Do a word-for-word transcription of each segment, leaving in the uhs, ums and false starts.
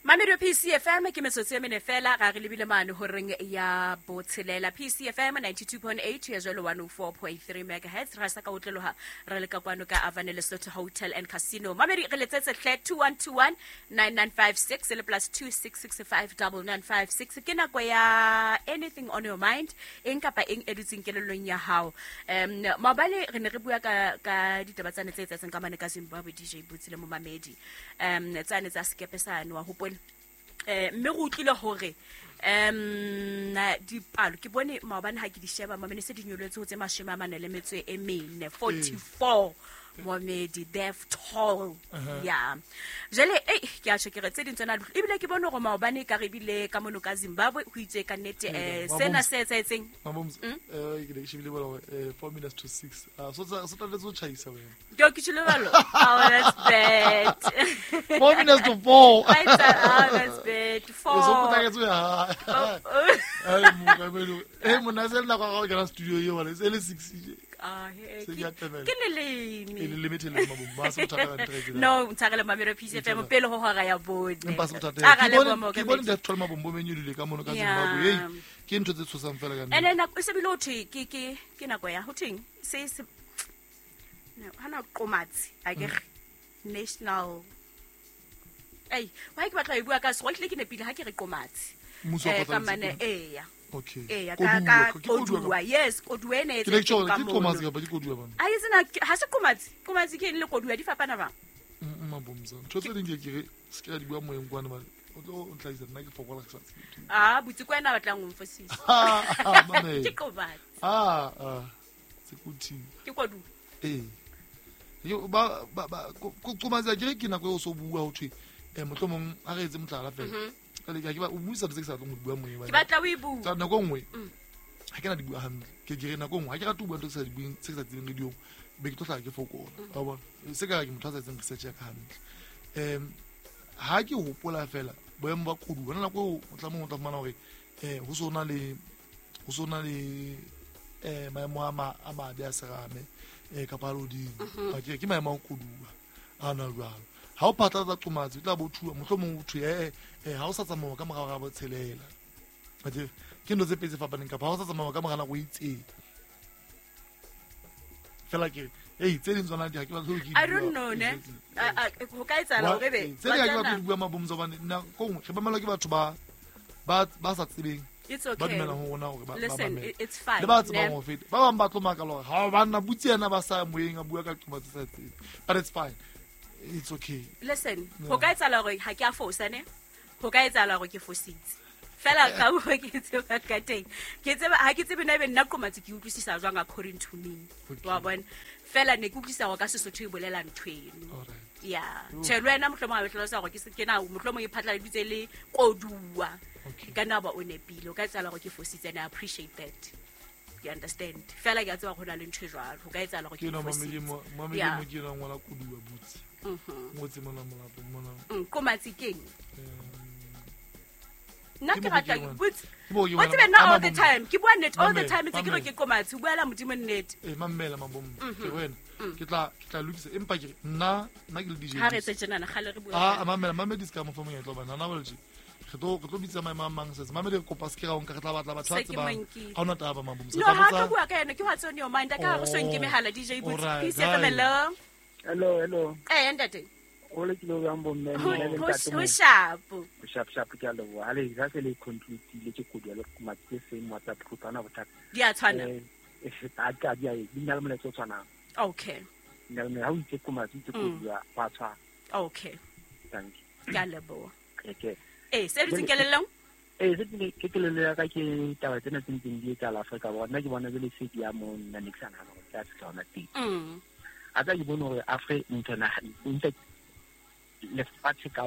Mamedio P C F M ke metsotso e mene fela ga re lebile mane horeng ya botshelela. P C F M ninety-two point eight ya jwalo one oh four point three megahertz ra sa ka otleloha re le ka kwano ka Avane Lesotho Hotel and Casino. Mamedi re letsetse hle two one two one nine nine five six le plus two six six five nine nine five six. Ke nako ya anything on your mind, eng kapa eng e dutseng kelellong ya hao. Um maobane re ne re bua ka ka ditaba tsane tse etsahetseng ka mane ka Zimbabwe, D J Butsi le momamedi. Um tsane tsa sekepe sane wa hopola. Eh mme re utlwile hore um dipalo ke bone maobane ha ke di sheba mamene se di nyoletse ho tse mashome a mane le metso e mene forty-four momedi death toll. Yeah, jele eh ke a tjho ke re tse ding tsona ebile ke bone hore maobane ka re bile ka mono ka Zimbabwe ho itse ka nnete eh sena se etsahetseng mabomz eh ke ne ke shebile bona eh four minutes to six. Ah so so tla letso tjhaisa wena ke ke tshile balo. Oh, that's bad. four minutes to four. Right, oh, that's bad. Four. So pota ke tswe ha. Ai mo ka belo. Eh mona se nna kwa ka studio yo wala se le six. Ah, ke le leme. E le limited le mabomba se bothata ka ntle. No, ntshagele mamelo P C F M pele ho hora ya bone. Empa se bothata. Ke bone ke bone death toll mabombo menyulile ka mono ka Zimbabwe. Hey, ke ntho tse tshosang fela ka nne. Ene nako e se bile ho thwe ke ke ke nako ya ho thweng se se no hana qomatsi a ke national. Ei, wa ke batla e bua ka se go tle ke nepile ha ke re qomatsi. Mmuso wa ka mane eya. Okay. Eya ka ka koduwa. Yes, koduwa ene e tse ka mo. Ke qomatsi kapa ke koduwa bana? A itse na ha se qomatsi. Qomatsi ke eng le koduwa di fapana bang? Mabomza. Ntho tse ding ke ke re se ke di bua moyeng kwana ba. O tlo ntlaisa nna ke fokola ke sa tsebe. Ah, butsi kwa ena batlang o mfosisa. Ke qomatsi. Ah, ah. Se kuthi. Ke koduwa. Eh. Yo ba ba qomatsi ke re ke nako e o so bua ho thwe eh mohlomong a re etse motlala fela. Ka ke ba o buisa tse ke sa tlong go bua moyeng. Ke batla o e bua. Tsa nako nngwe. Ha ke na di bua hantle. Ke ke re nako nngwe ha ke rate ho bua ntho tse sa di bueng tse ke sa tsebeng radio. Be ke tlo hlaha ke fokola. Wa bona? Se ka ke motho a sa etseng research ya ka hantle. Em ha ke hopola fela boemo ba koduwa nako eo o tla mong o tla fumana hore eh ho sona le ho sona le eh maemo a ma a mabe a serame eh kapa lodimo. Ba ke ke maemo a koduwa a na jwalo. Ha o phatlatsa qomatsi o tla bo thuwa mohlomong o thwe eh eh ha o sa tsamaya ka morao ga botshelela. Athe ke ntho tse pedi tse fapaneng kapa ha o sa tsamaya ka mora nako e itseng. Fela ke eh tse ding tsona di ha ke batla ho ke I don't know ne. Ho ka etsahala hore be tse ding ha ke batla ho bua mabomza hobane nna kong re ba ke batho ba ba ba sa tsebeng. It's okay. Ba dumela ho rona hore ba listen, it's fine. Le ba tsebang ho feta. Ba bang ba tlo makala hore ha ba nna butsi yena ba sa moyeng a bua ka qomatsi sa tsebe. But it's fine. It's okay. Listen, ho ka etsahala hore ha ke a fosa ne? Ho ka etsahala hore ke fositse. Fela ka ho ke tseba ka teng. Ke tseba ha ke tsebe na ebe nna qomatsi ke utlwisisa jwang according to me. Wa bona? Fela ne ke utlwisisa hore ka Sesotho e bolela ntho eno. Yeah. Tjhe le wena mohlomong ha o hlalosa hore ke se ke na mohlomong e phatlaladitse le koduwa. Ka nna ba o nepile. O ka etsahala hore ke fositse and I appreciate that. You understand? Fela ke a tseba hore ho na le ntho e jwalo. Ho ka etsahala hore ke fositse. Ke na ke na ngwana koduwa butsi. Mhm. Ngotse mona molapo mona. Mm, qomatsi keng? Nna ke rata butsi. O tsebe nna all the time. Ke bua nnete all the time ntse ke re ke qomatsi. O buela Modimo nnete. Eh mamela mabombo. Ke wena. Ke tla ke tla lokisa empa ke nna nna ke le D J. Ha re tse tjena kgale re bua. Ah mamela mamedi ska mo fa monyetla bana nna bolje. Re tlo re tlo bitsa maemo a mang setse. Mamedi re kopa se ke ra o nka re tla batla batho ba tsebang. Ha ona taba mabombo. No ha ka bua ka yena ke what's on your mind. Ka re so nke mehala D J Butsi. Peace F M hello. Hello, hello. Eh ntate. O le ke lo yang bomme le ntate. Ho sharp. Ho sharp sharp ke a leboha. Ha le ha se le conclude ke koduwa le qomatsi same WhatsApp group ana bothata. Di a tshwana. Eh a ka di a di na le molaetsa o tshwanang. Okay. Nna le ha o itse qomatsi itse koduwa wa tshwana. Okay. Thank you. Ke a leboha. Okay. Eh se dutseng kelellong? Eh se ke ke kelello ya ka ke taba tsena tse ntseng di etsahala Afrika Borwa. Nna ke bona jwale se di ya mo nna ne ke sa nahana hore tla fihla hona teng. Mm. A tla ke bone hore Afrika ntho in fact lefatshe ka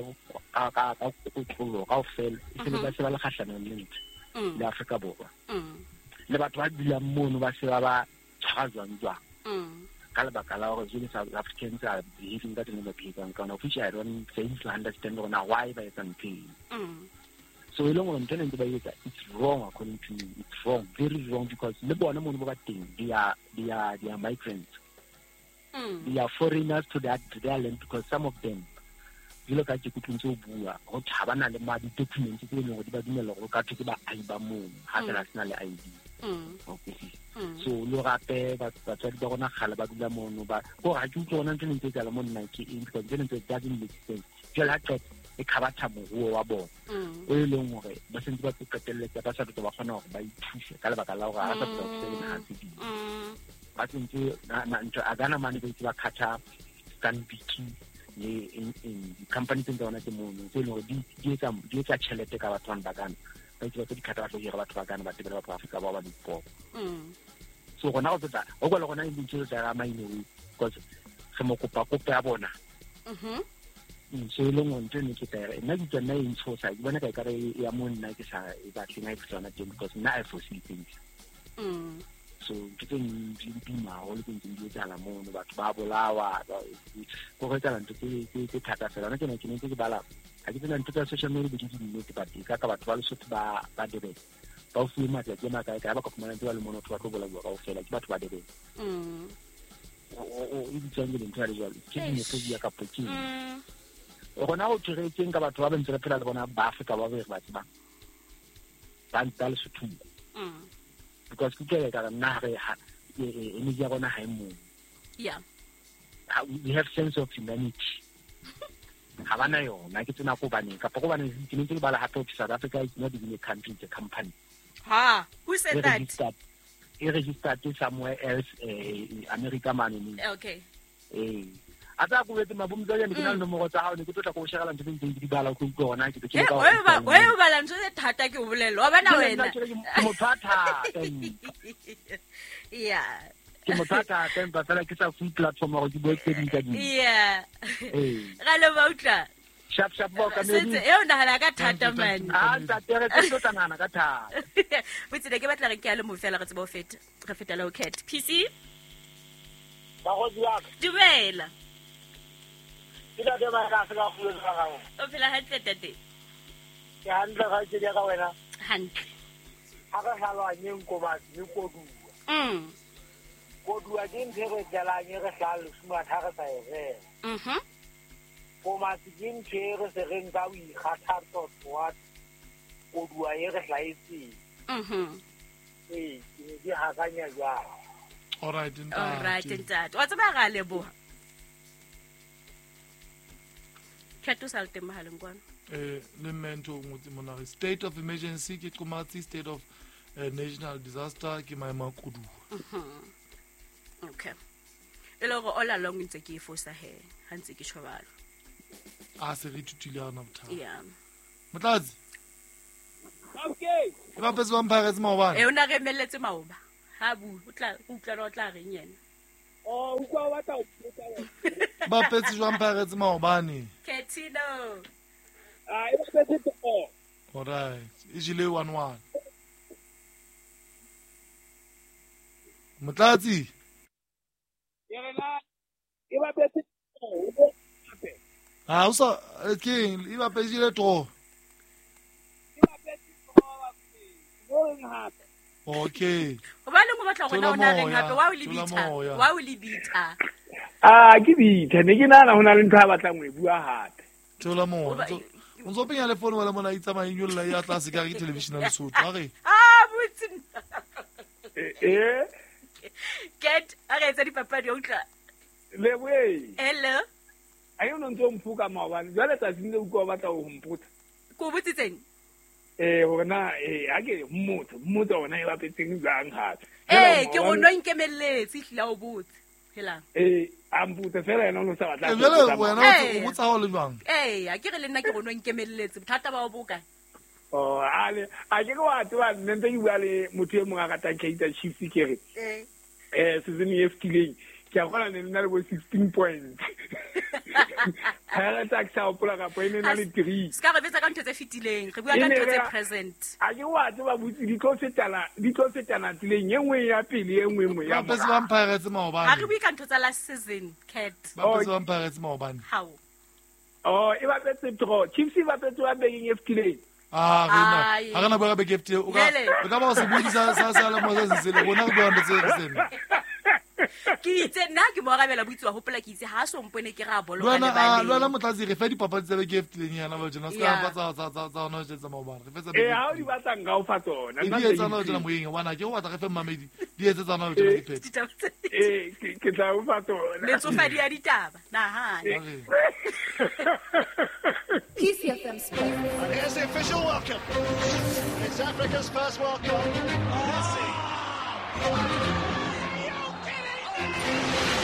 ka ka ka kotlolo kaofela e se ba se ba le kgahlanong le ntho le Afrika Borwa. Le batho ba dulang mono ba se ba ba tshwara jwang jwang. Ka lebaka la hore jwale South Africans are behaving ka tsela e ba behavang ka yona, which I don't fail to understand hore na why ba etsa ntho eno. So e leng hore ntho ena ntse ba e etsa, it's wrong according to me. It's wrong, very wrong, because le bona mono ba ba teng, they are they are they are migrants. Mm. They are foreigners to that to their land, because some of them Jwalo ka ke kutlwe ntse o bua ho tha ba na le ma di-documents tse leng hore di ba dumella hore o ka thwe ke baahi ba mono ha fela sena le I D. Okay. So lo gape batswadi ba rona kgale ba dula mono ba ko ha ke utlwe hona ntho e ntse etsahala mo nna ke eng because ntho e ntse doesn't make sense. Jwale ha qeta e khabatha moruo wa bona o e leng hore ba sentse ba qetelletse ba sa tlo ba kgona hore ba ithuse ka lebaka la hore ha sa tlo thusa le ha tse ding. Ba tsentse ntho a gana mane ba itse ba khatha Stanbic le in in company tse tsona tse mono tse leng hore di di etsa di etsa tjhelete ka batho ba Ghana ba itse ba tse di khatha ba tlo hira batho ba Ghana ba tebela batho ba Afrika ba ba dipopo. So rona go tla o kwa le rona e ntse tsa ga maine we because re mo kopa kopo ya bona. Mhm. So e leng ntho ne ke tla nna ke tsena e ntshosa ke bona ka ekare ya mo nna ke sa e batleng ha e tsona teng because nna I foresee things. Mm. So ke tse di bima haholo tse ntseng di etsahala mono batho ba bolawa go go etsahala ntho tse tse thata fela. Nna ke ne ke ntse ke bala ha ke tsena ntho tsa social media di di nnete but ka ka batho ba Lesotho ba ba Durban ba o fuwe matsatsi a makae kae ba ka fumana ntse ba le mono batho ba tlo bolauwa kaofela ke batho ba Durban. Mm. O e bitswang ke ntho ya jwalo ke xenophobia kapa ke eng. Rona ho thweretseng ka batho ba ba ntse re phela le bona ba Afrika ba re ba tsebang ba ba Lesotho. Mm. Because ke ke ka nna re ha energy ya rona ha e mo. Yeah. We have sense of humanity. Ha bana yona ke tsena ko baneng kapa ko baneng ke ntse ke bala hape South Africa is not even a country, it's a company. Ha, who said that? E registered somewhere else, eh, America mane. Okay. Eh. A tsa go betse mabomtsa ya ne ke na le nomoro tsa hao ne ke tlo tla go shegela ntho tse ntseng ke di bala go utlwa hona ke ke ka o ba o bala ntho tse thata ke o bolella wa bana wena ke motho a thata. Yeah. Ke motho a thata empa fela ke sa fuwe platform hore ke bue tse ding ka ding. Yeah. Eh. Ga le ba utlwa. Sharp sharp ba ka medi. Setse e o nahana ka thata man. Ah ntate re tlo tla nahana ka thata. Botse ke batla re ke a le mo fela re tsebe ho feta. Re feta le ho cat. P C. Ba go di ka. Dumela. Ke la ba ka se ka fuwe ka gago. O phela hantle tate. Ke hantle ga ke di ka wena. Hantle. Ha re hlalwanyeng komatsi le koduwa. Mm. Koduwa ke ntho e re tlalang re hlalosa ha re sa e rera. Mhm. Komatsi ke ntho e re se re nka o ikgathatsa wa koduwa e re hlaetseng. Mhm. Ee, ke ne ke hakanya jwalo. All right, ntate. All right, ntate. Wa tseba ga leboha. Cat o sa le teng mohaleng kwano. Eh, le mme ntho o ngotse mona re state of emergency ke qomatsi, state of uh, national disaster ke maemo a koduwa. Mhm. Okay. E le hore all along ntse ke e fosa he, ha ntse ke tjho jwalo. A se re ithutile ha rena bothata. Yeah. Motlatsi. Okay. E bapetse ba Pirates maobane. Eh, o na re emelletse maoba. Ha bu, o tla o utlwa o tla reng yena. Oh, utlwa wa tla o botsa wena. Bapetse jwang Pirates maobane? Ketino. Ah, e bapetse to. All right. E jele one one. Motlatsi. Ke re na e bapetse to. Ah, o sa ke eng? E bapetse le draw. E bapetse draw ba reng hape. Okay. Hobane o batla hore na o na reng hape wa o lebitha, wa o lebitha. Ah, ke bitha ne ke nahana ho na le ntho a batlang ho e bua hape. Thola moya. O ntso penya le phone wala mona itsamaya nyolla ya tlase ka re ke television ya Lesotho. A re. Ah, botsi. Eh eh. Get a re etsa dipapadi o utlwa. Leboe. Hello. A yo no ntso mphuka maobane. Jwale tsatsing le utlwa o batla ho mpotsa. Ko botsitseng? Eh hore na eh ha ke mmotsa mmotsa hona e bapetseng jwang hape. Eh ke go no nkemelletse hlila o botse. Helang. Eh a mpotsa fela yena o no sa batla. Eh jwale wena o botsa ha o le jwang? Eh a ke re le nna ke go no nkemelletse bothata ba o boka. Oh ale a ke go a tseba nne ntse ke bua le motho e mong a ratang Kaizer Chiefs ke re. Eh eh season e fetileng ke a kgona ne nna le bo sixteen points. Ha re tsa ke sa hopola kapa e ne na le three. Ska re betsa ka ntho tse fetileng, re bua ka ntho tse present. A ke wa tseba botsi di tlo fetana, di tlo fetana tseleng e nngwe ya pele e nngwe nngwe ya. Ba bapetse ba Pirates maobane. Ha re bue ka ntho tsa last season, Cat. Ba bapetse ba Pirates maobane. How? Oh, e bapetse draw. Chiefs e bapetse ba bekeng e fetileng. Ah, re na. Ha re na bua ka beke e fetileng. O ka o ka ba o se buisa sa sa le mo se se le rona re bua ntho tse re sena. Ke itse nna ke mo arabela botsi wa hopola ke itse ha so mpone ke ra boloka le ba le lwana motlatsi re fa dipapadi tsa beke e fetileng yana ba tjena se ka tsa tsa tsa tsa ona tsa maobane re fetsa eh ha o di batlang ka o fa tsona nna ke tsana tsena moyeng wa na ke o batla re fe mmamedi di etse tsana tsena di phethe eh ke tla o fa tsona letsofadi ya ditaba nahana. P C F M Sports. And here's the official welcome. It's Africa's first World Cup. Messi.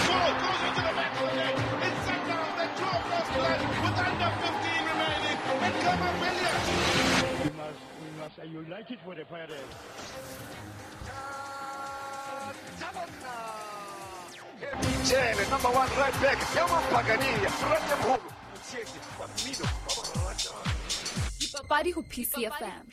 Ball goes into the back of the net. It's set down. They draw first blood with under fifteen remaining. And come on, Williams. We must, we must unite it for the Pirates. Number one right back. Dipapadi ho P C F M.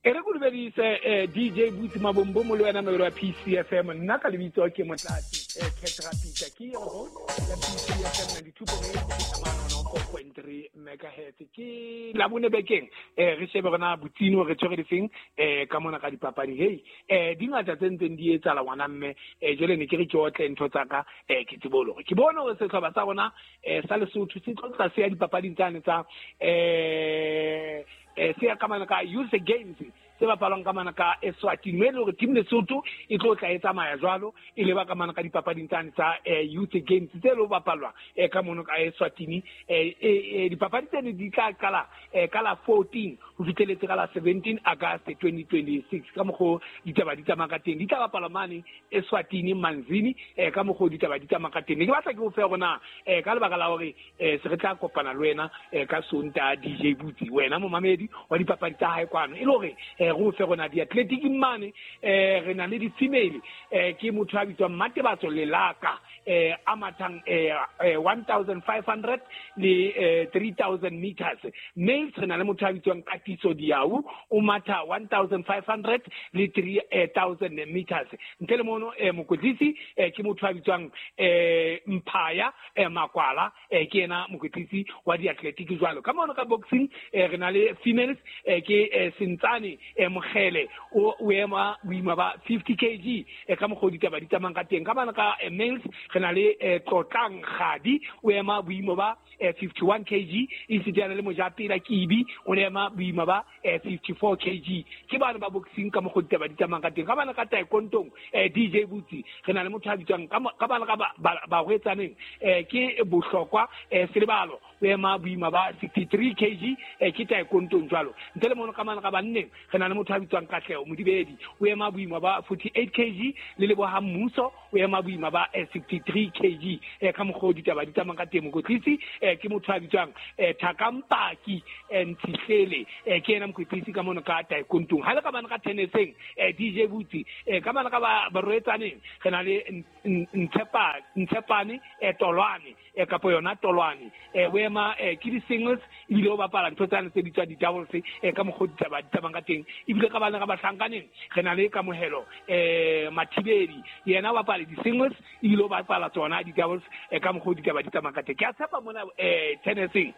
E re go dumedise D J Butsi Mabombo mo le wena mobedi wa P C F M. Nna ka lebitso ke Motlatsi Ketra Peter ke re ho ya P C F M ninety-two point eight one oh four point three megahertz. Ke la bone bekeng eh re shebe rona Botsino re tshwere difeng eh ka mona ka dipapadi. Hey eh di ngata tse ntseng di etsahala ngwana mme eh jwale ne ke re ke otle ntho tsa ka eh ke tsebe hore ke bone hore sehlopha sa rona eh sa Lesotho se tlo tla se ya dipapading tsane tsa eh eh se ya ka mana ka Youth Games se bapalwang ka mana ka Eswatini mme le hore team Lesotho e tlo tla e tsamaya jwalo e leba ka mana ka dipapading tsane tsa Youth Games tse lo bapalwa ka mono ka Eswatini. Eh dipapadi tsene di tla qala ka la fourteen ho fihleletse ka la seventeen August twenty twenty-six ka mokgo ditaba di tsamaya ka teng di tla bapalwa mane Eswatini Manzini ka mokgo ditaba di tsamaya ka teng. Ne ke batla ke o fe rona ka lebaka la hore se re tla kopana le wena ka Sontaha D J Butsi wena momamedi wa dipapadi tsa hae kwano e le hore re o fe rona di-athletic mane eh re na le di-female eh ke motho a bitswang Matebatso Lelaka eh a mathang eh one thousand five hundred le three thousand meters. Males re na le motho a bitswang Katiso Diau o matha one thousand five hundred le three thousand meters. Ntle le mono eh mokwetlisi eh ke motho a bitswang eh Mphaya eh Makwala eh ke yena mokwetlisi wa di-athletic jwalo. Ka mono ka boxing eh re na le females eh ke Sentsane eh Mogele o o ema boima ba fifty kilograms eh ka mokgo ditaba di tsamang ka teng. Ka bana ka males re na le Tlotlang Gadi o ema boimo ba fifty-one kilograms e setsana le Mojapela Kibi o ema boima ba fifty-four kilograms. Ke bana ba boxing ka mokgo ditaba di tsamang ka teng. Ka bana ka taekwondo D J Butsi re na le motho a bitswang ka bana ka ba hwetsaneng ke Bohlokwa Selebalo o ema boima ba sixty-three kilograms ke taekwondo jwalo. Ntle le mono ka bana ka banneng re na le motho a bitswang Katleho Modibedi o ema boima ba forty-eight kilograms le Leboha Mmuso o ema boima ba sixty-three kilograms ka mokgo ditaba di tsamang ka teng. Mokwetlisi ke motho a bitswang Thakampaki Ntshihlele ke yena mokwetlisi ka mono ka taekwondo. Ha le ka bana ka tenniseng D J Butsi ka bana ka ba barwetsaneng re na le Ntshepa Ntshepane Tolwane kapo yona Tolwane o ema ke di-singles ebile o bapala ntho tsane tse bitswang di-doubles ka mokgo ditaba di tsamang ka teng. Ebile ka bana ka bahlankaneng re na le Kamohelo eh Mathibedi yena o bapala di-singles ebile o bapala tsona di-doubles ka mokgo ditaba di tsamang ka teng. Ke a tshepa mona eh tenniseng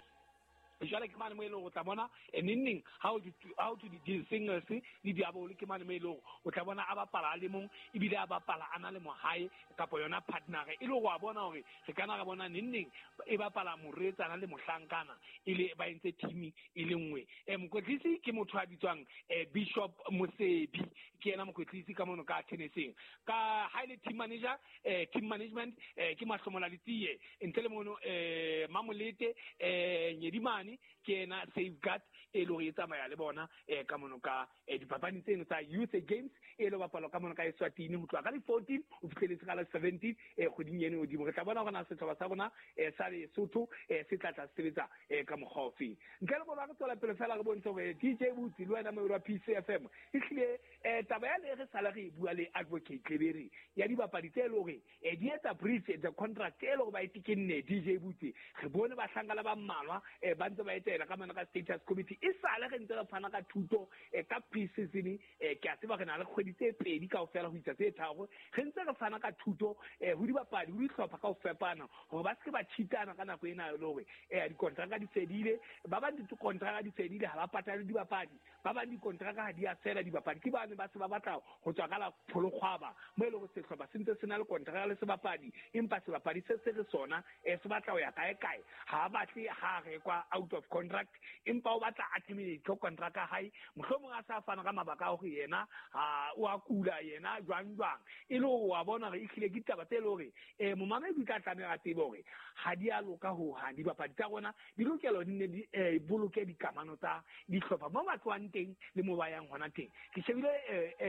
jwale ke mane mo e leng o tla bona neng how to how to di singles le diabolo ke mane mo e leng o tla bona a bapala a le mong ebile a bapala a na le mohae kapa yona partner e le go a bona hore re kana ra bona neng neng e bapala moretsana le mohlankana e le ba entse team e le nngwe. Eh mokwetlisi ke motho a bitswang Bishop Mosebi ke yena mokwetlisi ka mono ka tenniseng. Ka ha ile team manager eh team management ke Mahlomola Letsie ntle le mono eh Mamolete eh Nyedimane ke yena safeguard e le hore e tsamaya le bona eh ka mono ka dipapadi tseno tsa Youth Games e le bapalwa ka mono ka Eswatini ho tloha ka di fourteen ho fihleletse ka la seventeen eh kgweding eno hodimo. Re tla bona hore na sehlopha sa rona eh sa Lesotho eh se tla tla sebetsa eh ka mokgwa ofe. Ntle le bona re tswela pele fela re bontshe hore D J Butsi le wena moedi wa P C F M ehlile eh taba ya le re sala re bua le Advocate Tlebere ya dibapadi tse le hore eh di etsa breach the contract e le hore ba e tekenne D J Butsi. Re bone bahlankana ba mmalwa eh ba ntse ba etela ka mana ka status committee e sale re ntse re fana ka thuto ka pre-season ke a tseba re na le kgwedi tse pedi kaofela ho isa tse tharo re ntse re fana ka thuto ho dibapadi ho dihlopha ka ho fapana hore ba se ke ba cheatana ka nako ena le hore dikontraka di fedile ba bang dikontraka di fedile ha ba patale dibapadi ba bang dikontraka ha di a fela dibapadi ke bane ba se ba batla ho tswa ka la pholokgwaba mo e leng hore sehlopha se ntse se na le kontraka le sebapadi empa sebapadi se se re sona se batla ho ya kae kae ha batle ha rekwa out of contract empa o batla a terminate contract ya hae mohlomong a sa fana ka mabaka a hore yena ha o a kula yena jwang jwang e le hore wa bona hore ehlile ke ditaba tse le hore eh momamedi o tla tlameha a tsebe hore ha di a loka ho hang dibapadi tsa rona di lokela di ne di boloke dikamano tsa dihlopha mo ba tlohang teng le mo ba yang hona teng. Ke shebile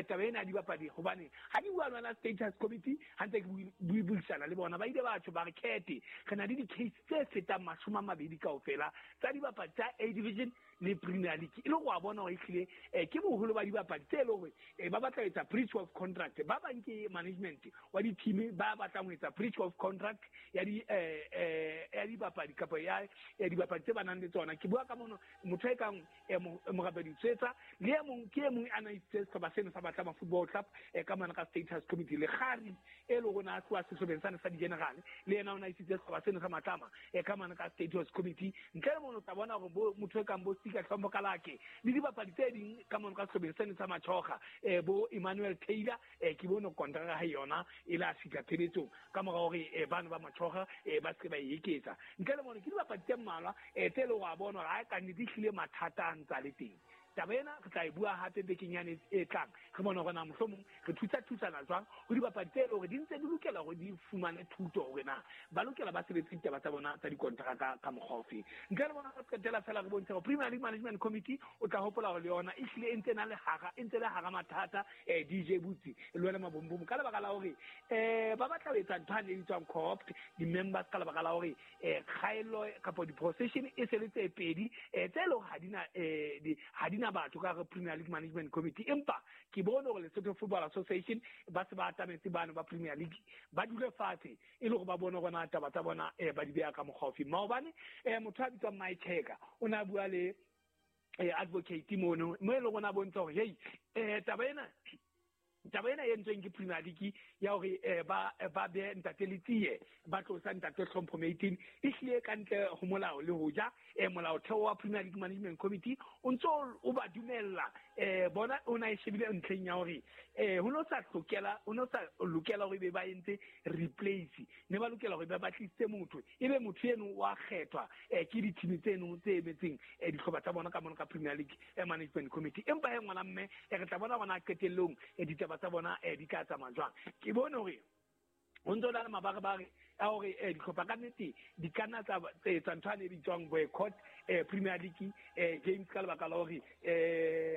taba ena ya dibapadi hobane ha di bua lona status committee ha ntse ke buisana le bona ba ile ba tjho ba re khethe re na le di-case tse fetang mashome a mabedi kaofela tsa dibapadi tsa A division le Premier League e le go a bona hore ehlile ke boholo ba dibapadi tse le hore ba batla ho etsa breach of contract ba bang ke management wa di-team ba batlang ho etsa breach of contract ya di ya dibapadi kapa ya dibapadi tse ba nang le tsona. Ke bua ka mono motho e kang Morapedi Tswetsa le e mong ke e mong a na isitse sehlopha seno sa Batlama Football Club ka mona ka status committee le Kgari e le rona a tloha sehlopheng sane sa di-general le yena o na isitse sehlopha seno sa Matlama ka mona ka status committee. Ntle le mono o tla bona hore motho e kang bo Sika Hlompho Kalake le dibapadi tse ding ka mona ka sehlopheng seno sa Machoga bo Emmanuel Taylor ke bone kontraka ha yona e la fihla pheletsong ka mora hore bana ba Machoga ba se ba e eketsa. Ntle le mono ke dibapadi tse mmalwa tse le hore a bona hore ha ka nnete ehlile mathata a ntsa le teng. Taba ena re tla e bua hape bekeng yane e tlang re bone hore na mohlomong re thusa thusana jwang ho dibapadi tse le hore di ntse di lokela hore di fumane thuto hore na ba lokela ba sebetse ditaba tsa bona tsa dikontraka ka mokgwa ofe. Ntle le bona re qetela fela re bontshe hore Premier League Management Committee o tla hopola hore le yona ehlile e ntse na le hara e ntse le hara mathata D J Butsi le wena Mabombomo ka lebaka la hore eh ba batla ho etsa ntho e bitswang co-opt di-members ka lebaka la hore kgaello kapa di-procession e se le tse pedi tse leng ha di na ha di na batho ka re Premier League Management Committee empa ke bone hore Lesotho Football Association ba se ba atametse bano ba Premier League ba dule fatshe e le hore ba bone hore na taba tsa bona ba di beha ka mokgwa ofe. Maobane motho a bitswang Mike Checker o ne a bua le advocate mono mo e leng hore a bontsha hore hey taba ena taba ena e entsweng ke Premier League ya hore ba ba be ntate Letsie ba tlosa ntate Hlompho Maitin e hlile ka ntle ho molao le hoja molaotheo wa Premier League Management Committee o ntso o ba dumella bona o na e shebile ntlheng ya hore ho no sa hlokela o no sa lokela hore be ba entse replace ne ba lokela hore ba batlisitse motho ebe motho eno wa kgethwa ke di-team tseno tse emetseng dihlopha tsa bona ka mona ka Premier League Management Committee. Empa he ngwana mme re tla bona bona qetellong ditaba tsa bona di ka tsamaya jwang. Ke bone hore ho ntso na le mabarebare a hore dihlopha ka nnete di ka nna tsa etsa ntho e bitswang boycott Premier League games ka lebaka la hore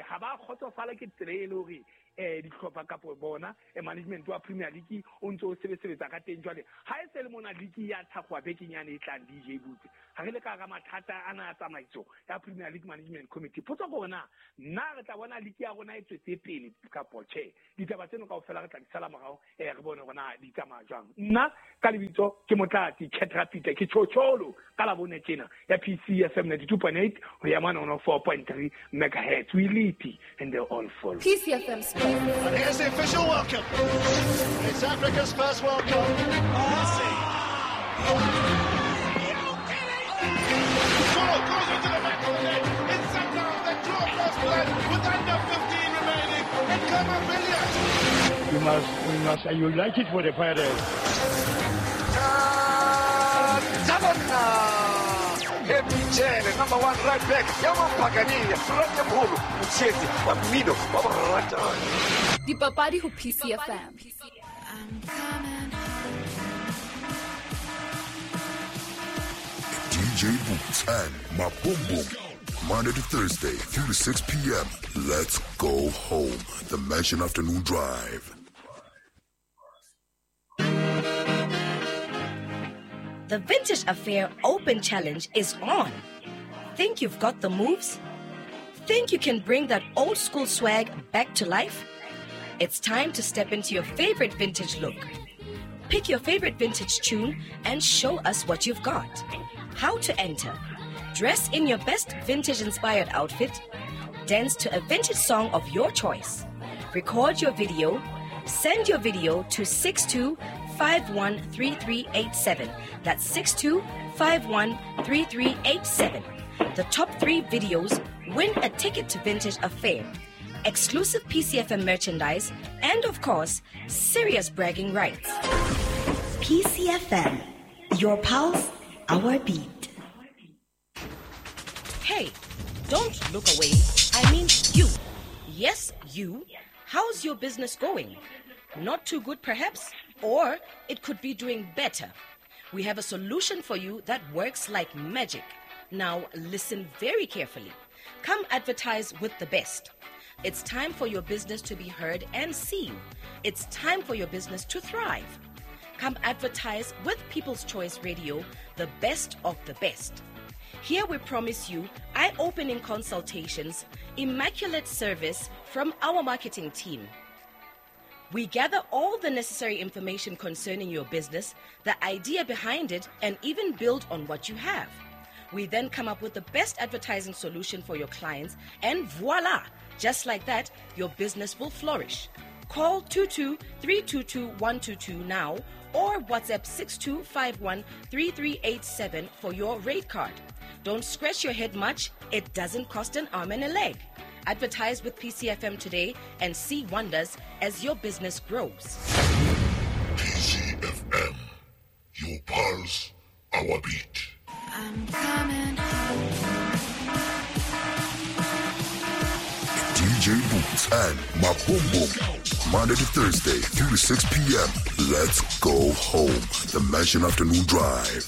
ha ba kgotsofala ke tsela e le hore dihlopha kapo bona management wa Premier League o ntso o sebetsa ka teng. Jwale ha e se le mona league ya thakgowa bekeng yane e tlang D J Butse ha re le ka mathata ana a tsamaiso ya Premier League Management Committee. Potso ke hore na nna re tla bona league ya rona e tswetse pele kapo tjhe. Ditaba tseno kaofela re tla di sala morao re bone hore na di tsamaya jwang. Nna ka lebitso ke Motlatsi Khetrapita ke tjhotjholo ka labone tjena ya P C F M ninety-two point eight ho ya mane one oh four point three megahertz. We lead and they all follow. P C F M Sports. And here's the official welcome. It's Africa's first World Cup. Messi. Goal goes into the back of the net. It's Sundowns that draw first blood with under fifteen remaining. And Khama Billiat. We must, we must unite it for the Pirates. Mchele, number one right back. Dipapadi ho P C F M. D J Boots and Maboom. Monday to Thursday, three to six p.m. Let's go home. The Mansion Afternoon Drive. The Vintage Affair Open Challenge is on. Think you've got the moves? Think you can bring that old school swag back to life? It's time to step into your favorite vintage look. Pick your favorite vintage tune and show us what you've got. How to enter? Dress in your best vintage inspired outfit, dance to a vintage song of your choice, record your video, send your video to six two five one three three eight seven. That's six two five one three three eight seven. The top three videos win a ticket to Vintage Affair, exclusive P C F M merchandise, and of course, serious bragging rights. P C F M, your pulse, our beat. Hey, don't look away. I mean you. Yes, you. How's your business going? Not too good, perhaps? Or it could be doing better. We have a solution for you that works like magic. Now, listen very carefully. Come advertise with the best. It's time for your business to be heard and seen. It's time for your business to thrive. Come advertise with People's Choice Radio, the best of the best. Here we promise you eye-opening consultations, immaculate service from our marketing team. We gather all the necessary information concerning your business, the idea behind it, and even build on what you have. We then come up with the best advertising solution for your clients, and voila! Just like that, your business will flourish. Call two two three two two one two two now or WhatsApp six two five one three three eight seven for your rate card. Don't scratch your head much. It doesn't cost an arm and a leg. Advertise with P C F M today and see wonders as your business grows. P C F M, your pulse, our beat. I'm coming home. D J Boots and Maboom, Monday to Thursday, three to six p.m. Let's go home. The Mansion Afternoon Drive.